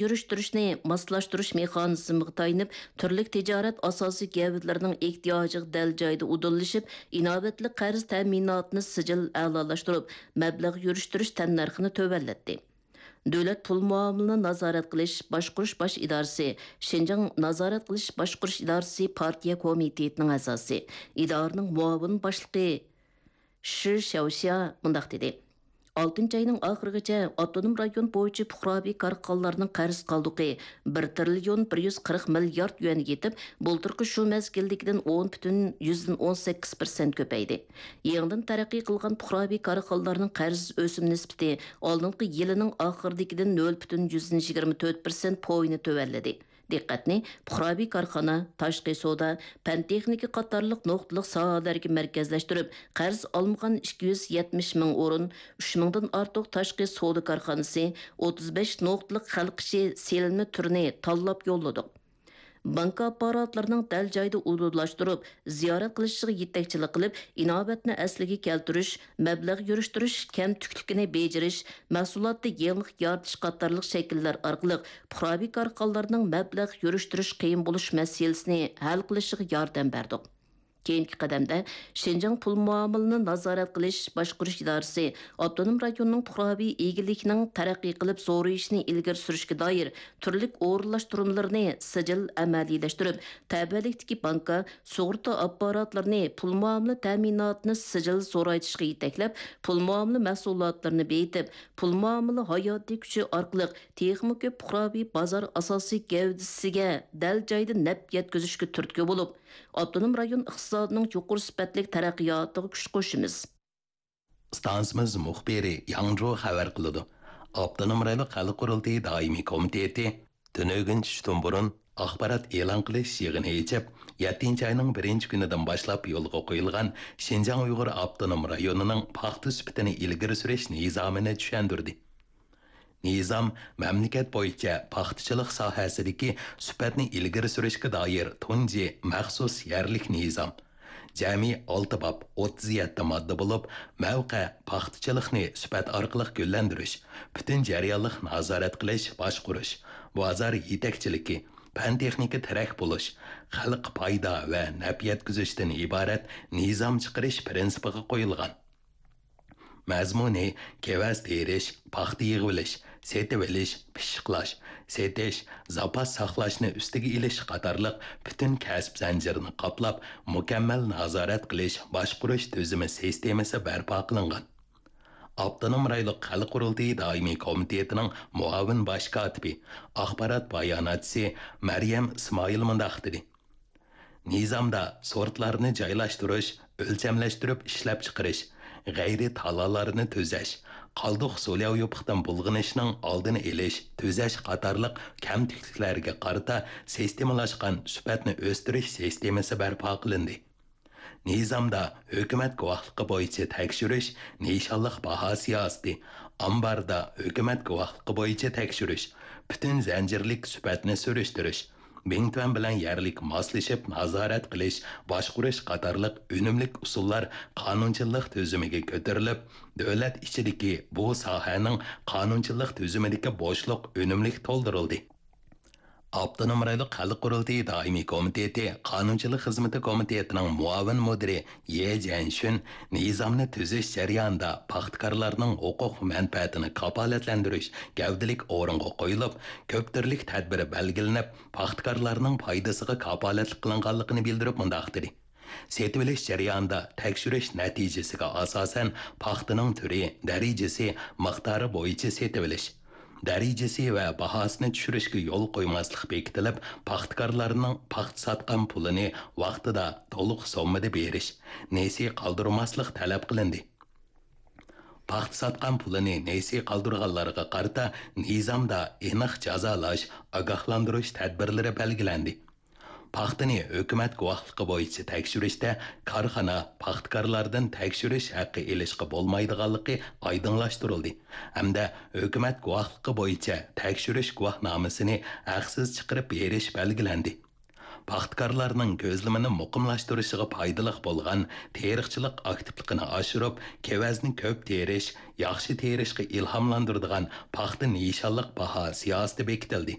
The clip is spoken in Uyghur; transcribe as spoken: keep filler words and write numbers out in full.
يۈرۈشتۈرۈشنى ماسلاشتۇرۇش مېخانىزمىغا تايىنىپ، تۈرلۈك تىجارەت ئاساسىي گەۋدىلىرىنىڭ ئېھتىياجىغا دەل جايىدا ئۇدۇللىشىپ، ئىناۋەتلىك قەرز تەمىناتىنى سىجىل ئەلالاشتۇرۇپ، مەبلەغ يۈرۈشتۈرۈش تەننەرخىنى تۆۋەنلەتتى. دۆلەت پۇل مۇئامىلىنى نازارەت قىلىش باشقۇرۇش باش ئىدارىسى، شىنجاڭ نازارەت قىلىش باشقۇرۇش ئىدارىسى پارتىيە كومىتېتىنىڭ ئەزاسى، ئىدارىنىڭ مۇئاۋىن باشلىقى شى شياۋشيا مۇنداق دېدى: «ئالتىنچى ئاينىڭ ئاخىرىغىچە ئاپتونوم رايون بويىچە پۇقراۋى كارخانىلارنىڭ قەرز قالدۇقى بىر تىرىليون بىر يۈز قىرىق مىليارد يۈەنگە يېتىپ، بۇلتۇرقى شۇ مەزگىلدىكىدىن ئون پۈتۈن يۈزدىن ئون سەككىز پىرسەنت كۆپەيدى. يېڭىدىن تەرەققىي قىلغان پۇقراۋى كارخانىلارنىڭ قەرز ئۆسۈم نىسبىتى ئالدىنقى يىلىنىڭ ئاخىرىدىكىدىن نۆل پۈتۈن يۈزدىن يىگىرمە تۆت پىرسەنت پويىنى تۆۋەنلىدى.» دىققەتنى پۇقراۋى كارخانا، تاشقى سودا، پەن تېخنىكا قاتارلىق نۇقتىلىق ساھەلەرگە مەركەزلەشتۈرۈپ، قەرز ئالمىغان ئىككى يۈز يەتمىش مىڭ ئورۇن، ئۈچ مىڭدىن ئارتۇق تاشقى سودا كارخانىسى، ئوتتۇز بەش نۇقتىلىق خەلق ئىشى سېلىنما تۈرىنى تاللاپ يوللىدۇق. بانكا ئاپپاراتلىرىنىڭ دەل جايىدا ئۇدۇللاشتۇرۇپ، زىيارەت قىلىشىغا يېتەكچىلىك قىلىپ، ئىناۋەتنى ئەسلىگە كەلتۈرۈش، مەبلەغ يۈرۈشتۈرۈش كەمتۈكلۈكىنى بېجىرىش، مەھسۇلاتتا يېڭىلىق يارىتىش قاتارلىق شەكىللەر ئارقىلىق پۇقراۋى كارخانىلارنىڭ مەبلەغ يۈرۈشتۈرۈش قىيىن بولۇش مەسىلىسىنى ھەل قىلىشىغا ياردەم بەردۇق. كېيىنكى قەدەمدە شىنجاڭ پۇل مۇئامىلىنى نازارەت قىلىش باشقۇرۇش ئىدارىسى ئاپتونوم رايوننىڭ پۇقراۋى ئىگىلىكنىڭ تەرەققىي قىلىپ زورىيىشىنى ئىلگىرى سۈرۈشكە دائىر تۈرلۈك ئورۇنلاشتۇرمىلىرىنى سىجىل ئەمەلىيلەشتۈرۈپ، تەۋەلىكتىكى بانكا، سۇغۇرتا ئاپپاراتلىرىنى پۇل مۇئامىلە تەمىناتىنى سىجىل زورايتىشقا يېتەكلەپ، پۇل مۇئامىلە مەھسۇلاتلىرىنى بېيىتىپ، پۇل مۇئامىلە ھاياتىي كۈچى ئارقىلىق تېخىمۇ كۆپ پۇقراۋى بازار ئاساسىي گەۋدىسىگە دەل جايىدا نەپ يەتكۈزۈشكە تۈرتكە بولۇپ، ئاپتونوم رايون ئىقتىسادىنىڭ يۇقىرى سۈپەتلىك تەرەققىياتىغا كۈچ قوشىمىز. ئىستانسىمىز مۇخبىرى ياڭجۇ خەۋەر قىلىدۇ. ئاپتونوم رايونلۇق خەلق قۇرۇلتىيى دائىمىي كومىتېتى تۈنۈگۈن چۈشتىن بۇرۇن ئاخبارات ئېلان قىلىش يىغىنى ئېچىپ، يەتتىنچى ئاينىڭ بىرىنچى كۈنىدىن باشلاپ يولغا قويۇلغان شىنجاڭ ئۇيغۇر ئاپتونوم رايونىنىڭ پاختا سۈپىتىنى ئىلگىرى سۈرۈش نىزامىنى چۈشەندۈردى. نىزام مەملىكەت بويىچە پاختىچىلىق ساھەسىدىكى سۈپەتنى ئىلگىرى سۈرۈشكە دائىر تۇنجى مەخسۇس يەرلىك نىزام. جەمئىي ئالتە باب، ئوتتۇز يەتتە ماددا بولۇپ، مەۋقە پاختىچىلىقنى سۈپەت ئارقىلىق گۈللەندۈرۈش، پۈتۈن جەريانلىق نازارەت قىلىش، باشقۇرۇش، بازار يېتەكچىلىكى، پەن-تېخنىكا تىرەك بولۇش، خەلققە پايدا ۋە نەپ يەتكۈزۈشتىن ئىبارەت نىزام چىقىرىش پىرىنسىپىغا قويۇلغان. مەزمۇنى كېۋەز تېرىش، پاختا يىغىۋېلىش، سېتىۋېلىش، پىششىقلاش، سېتىش، زاپاس ساقلاشنى ئۈستىگە ئېلىش قاتارلىق پۈتۈن كەسىپ زەنجىرىنى قاپلاپ، مۇكەممەل نازارەت قىلىش، باشقۇرۇش تۈزۈمى سىستېمىسى بەرپا قىلىنغان. ئاپتونوم رايونلۇق خەلق قۇرۇلتىيى دائىمىي كومىتېتىنىڭ مۇئاۋىن باش كاتىپى، ئاخبارات باياناتچىسى مەريەم ئىسمائىل مۇنداق دېدى. نىزامدا سورتلارنى جايلاشتۇرۇش، ئۆلچەملەشتۈرۈپ ئىشلەپچىقىرىش، غەيرىي تالالارنى تۈزەش، قالدۇق سۇلياۋ يوپۇقتىن بۇلغىنىشنىڭ ئالدىنى ئېلىش، تۈزەش قاتارلىق كەمتۈكلۈكلەرگە قارىتا سىستېمىلاشقان سۈپەتنى ئۆستۈرۈش سىستېمىسى بەرپا قىلىندى. نىزامدا ھۆكۈمەت گۇۋاھلىقى بويىچە تەكشۈرۈش، نىشانلىق باھا سىياسىتى، ئامباردا ھۆكۈمەت گۇۋاھلىقى بويىچە تەكشۈرۈش، پۈتۈن زەنجىرلىك سۈپەتنى سۈرۈشتۈرۈش، بىڭتۈەن بىلەن يەرلىك ماسلىشىپ نازارەت قىلىش، باشقۇرۇش قاتارلىق ئۈنۈملۈك ئۇسۇللار قانۇنچىلىق تۈزۈمىگە كۆتۈرۈلۈپ، دۆلەت ئىچىدىكى بۇ ساھەنىڭ قانۇنچىلىق تۈزۈمىدىكى بوشلۇق ئۈنۈملۈك تولدۇرۇلدى. ئاپتونوم رايونلۇق خەلق قۇرۇلتىيى دائىمىي كومىتېتى قانۇنچىلىق خىزمىتى كومىتېتىنىڭ مۇئاۋىن مۇدىرى يې جيەنشۈن نىزامنى تۈزۈش جەريانىدا پاختىكارلارنىڭ ھوقۇق مەنپەئەتىنى كاپالەتلەندۈرۈش گەۋدىلىك ئورۇنغا قويۇلۇپ، كۆپ تۈرلۈك تەدبىر بەلگىلىنىپ، پاختىكارلارنىڭ پايدىسىغا كاپالەتلىك قىلىنغانلىقىنى بىلدۈرۈپ مۇنداق دېدى. سېتىۋېلىش جەريانىدا تەكشۈرۈش نەتىجىسىگە ئاساسەن، پاختىنىڭ تۈرى، دەرىجىسى، مىقدارى بويىچە سېتىۋېلىش، دەرىجىسى ۋە باھاسىنى چۈشۈرۈشكە يول قويماسلىق بېكىتىلىپ، پاختىكارلارنىڭ پاختا ساتقان پۇلىنى ۋاقتىدا تولۇق سوممىدا بېرىش، نېسى قالدۇرماسلىق تەلەپ قىلىندى. پاختا ساتقان پۇلىنى نېسى قالدۇرغانلارغا قارىتا نىزامدا ئېنىق جازالاش، ئاگاھلاندۇرۇش تەدبىرلىرى بەلگىلەندى. پاختىنى ھۆكۈمەت گۇۋاھلىقى بويىچە تەكشۈرۈشتە كارخانا، پاختىكارلاردىن تەكشۈرۈش ھەققى ئېلىشقا بولمايدىغانلىقى ئايدىڭلاشتۇرۇلدى ھەمدە ھۆكۈمەت گۇۋاھلىقى بويىچە تەكشۈرۈش گۇۋاھنامىسىنى ھەقسىز چىقىرىپ بېرىش بەلگىلەندى. پاختىكارلارنىڭ كۆزلىمىنى مۇقىملاشتۇرۇشىغا پايدىلىق بولغان تېرىقچىلىق ئاكتىپلىقىنى ئاشۇرۇپ، كېۋەزنى كۆپ تېرىش، ياخشى تېرىشقا ئىلھاملاندۇرىدىغان پاختا نىشانلىق باھا سىياسىتى بېكىتىلدى.